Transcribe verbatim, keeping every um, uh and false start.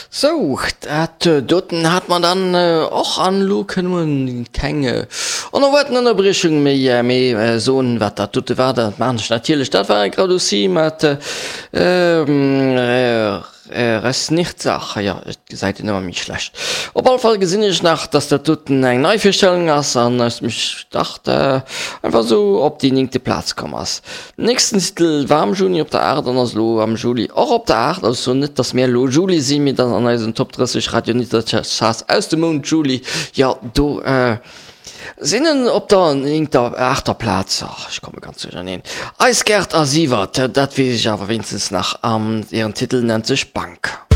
Sou, dat doten hat mer dann och an elo kënne mer keng onerwaarten Ënnerbriechung méi, mee soen, wat dat dote war. Dat maachen ech natierlech. Dat war Gradoussi mat Resnirtzach. Jo, et gesäit een ëmmer méi schlecht. Op alle Fall gesinn ech nach, dass dat doten eng Neivirstellung ass an ech mech dacht einfach esou op déi néngte Plaz komm ass. Nächsten Titel war am Juni op der aacht an ass elo am Juli och op der aacht. Also net dass mir elo Juli sinn, mee dass an eisen Top drësseg Radio Nittercharts aus dem Mount Juli, jo do sinn en op der néngter, aachter Plaz. Ach, ech komme ganz duercherneen. Eis Gerd a Siwert, dat weess ech awer wéinstens nach, an hiren Titel nennt sech Bank.